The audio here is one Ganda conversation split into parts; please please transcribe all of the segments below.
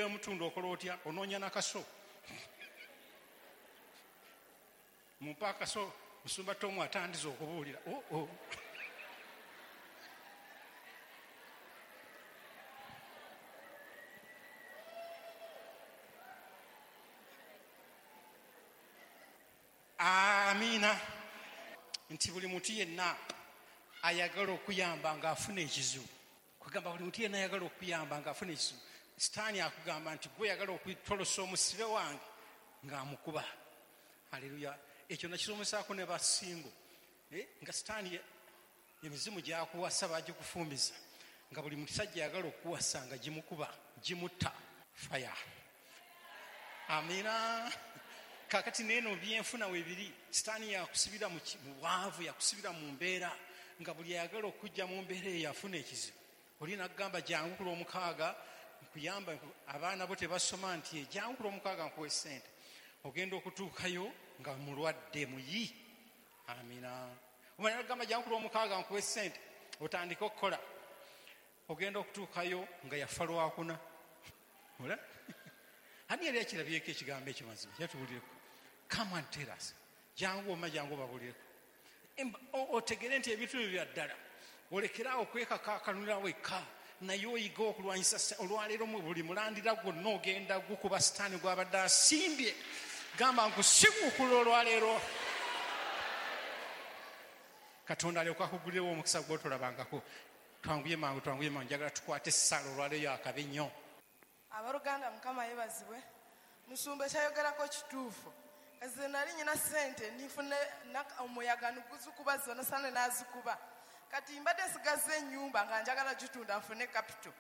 Omutundu okola otya? Onoonya nakaso. Mumpa akaso, musumba Tomu atandiza okubuulira. Oh, oh. Amiina. Nti buli muntu yenna ayagala okuyamba ng'afuna ekizibu, kwegamba buli muntu yenna ayagala okuyamba ng'afuna ekizibu, sitaani akugamba nti gwe oyagala okutolosa omusibe wange ng'amukuba. Haleluya. Ekyo nakisomesaako ne basingo, nga sitaani emizimu gyakuwasa bagikufumbiza, nga buli musajja ayagala okukuwasa nga gimukuba, gimutta fire. Amiina. Kakati neeno byenfuna webiri, sitaani yakusibira mu bwavu, yakusibira mu mbeera, nga buli ayagala okujja mu mbeera eyo yafuna ekizibu. Oli n'agamba jangu ku Lwomukaaga nkuyamba, abaana bo tebasoma, nti jangu ku Lwomukaaga nkuwe ssente. Ogenda okutuukayo nga mulwadde muyi. Amiina. Omwana n'agamba jangu ku Lwomukaaga nkuwe ssente otandike okukola. Ogenda okutuukayo nga yafa Lwakuna. Ola? Ani yali akirabyeko ekigambo ekyo mazima? Kyatubuulireko. Come and tell us. Jangu oma, jangu obabuulireko. Otegere nti ebintu ebyo bya ddala. Olekere awo okwekakaakanulira wekka, naye oyige okulwanyisa. Olwaleero mu buli mulandira gwonna ogenda gukuba sitaani gw'abadde asimbye. Gamba nkusiguukula olwaleero. Katonda alyoke akugulirewo omukisa gw'otolabangako. Twanguye mangu, twanguye mangu, njagala tukwate essaala olwaleero akabi nnyo. Abooluganda, Mukama yeebazibwe. Musumba ekyayogerako kituufu. Nze nali nnyina ssente nifune omuyaga niguzikuba zonna sane n'azikuba. Kati mbadde nsigazza ennyumba nga njagala gitunda nfune capital.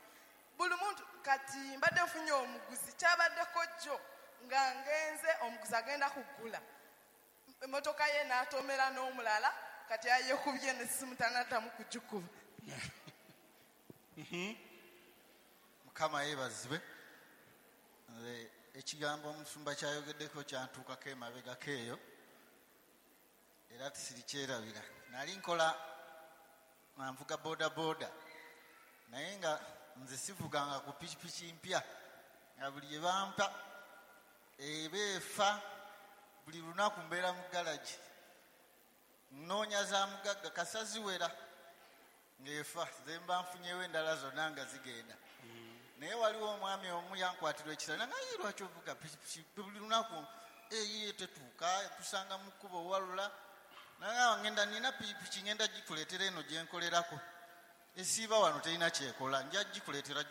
Buli muntu kati mbadde nfunye omuguzi, kyabaddeko jjo nga ngenze omuguzi agenda kugula emmotoka ye n'atomera n'omulala, kati ayekubye n'essimu tanaddamu kugikuba. Mukama yeebazibwe. Nze ekigambo omusumba kyayogeddeko kyantuukako emabegako eyo, era tisirikyerabira. Nali nkola nga nvuga boda boda, naye nga nze sivuganga ku pikipiki mpya, nga buli gye bampa eba efa. Buli lunaku mbeera mu galagi nnoonya za mugagga kasa ziwera ng'efa, ze mba nfunyewo endala zonna nga zigenda. Naye waliwo omwami omu yankwatirwa ekisa, nanga ye lwaki ovuga pikipiki buli lunaku eyiye tetuuka, tusanga mu kkubo owalula. Nanga ngenda nina pikipiki ngenda gikuleetera eno gye nkolerako, esiiba wano terina kyekola, nja gikuleetera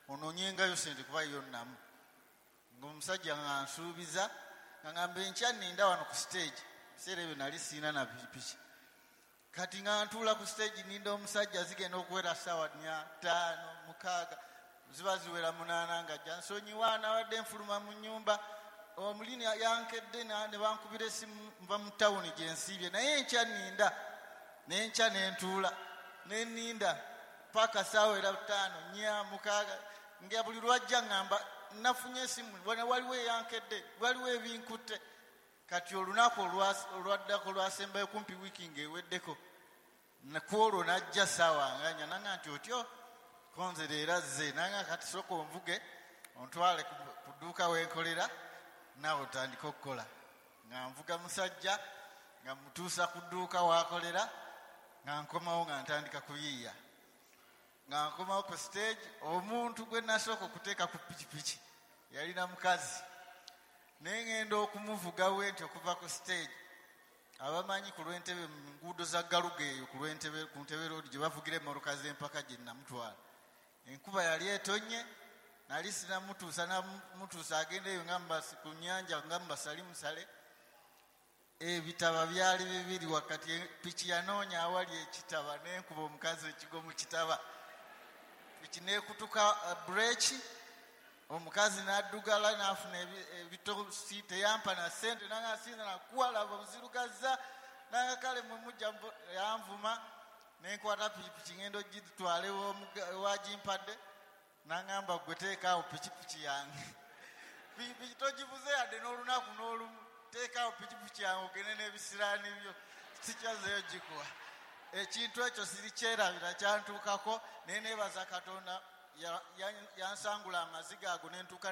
onoonyengayo ssente kuba yo nnamu. Ng'omusajja nga nsuubiza, nga ngamba enkya nninda wano ku stage. Ebiseera ebyo nali siina na pikipiki. Kati nga ntuula ku stage nninda omusajja, zigenda okuwera ssaawa 4, 5, 6, ziba ziwera 8 nga ajja nsonyiwa, nabadde nfuluma mu nnyumba, omulini yankedde ne bankubira essimu nva mu tawuni gye nsiibye, naye enkya nninda, n'enkya ne ntuula, ne nninda paka ssaawa era 5, 4, 6, nga buli lwajja ŋŋamba nafunye essimu, waliwo eyankedde, waliwo ebinkutte. Kati olunaku olwaddako lwasembayo kumpi wiiki ng'eweddeko, ku olwo n'ajja ssaawa nga nnya, nanga nti otyo konzera era azze, nanga kati sooka onvuge ontwale ku dduuka we nkolera, naawe otandike okukola. Nga nvuga musajja, nga mutuusa ku dduuka w'akolera, nga nkomawo nga ntandika kuyiiya. Nga nkomawo ku stage, omuntu gwe nasooka okuteeka ku pikipiki yalina mukazi, naye ngenda okumuvuga we nti okuva ku stage, abamanyi ku lw'Entebe mu nguudo za Galuga eyo ku lw'Entebe, ku Ntebe Road gye bavugira emmotoka z'empaka gye namutwala. Enkuba yali etonnye, nali sinamutuusa, namutuusa agenda eyo nga ku nnyanja nga mubasali musale. Ebitaba byali bibiri wakati, piki yanoonya awali ekitaba n'enkuba omukazi ekigo mu kitaba. Piki n'ekutuka bureeki, omukazi n'addugala n'afuna ebitosi, teyampa na ssente, nanga sinza nakuwa, laba nzirugazza, nanga kale mwe mujja yanvuma, ne nkwata pikipiki ngenda ogitwala ewagimpadde, n'aŋŋamba gwe teekaawo pikipiki yange, pikipiki togivuze yadde n'olunaku n'olumu, teekaawo pikipiki yange ogende n'ebisiraani byo, sikyazeeyo gikuwa. Ekintu ekyo sirikyerabira, kyantuukako, naye neebaza Katonda. Yansangula amaziga ago nentuuka.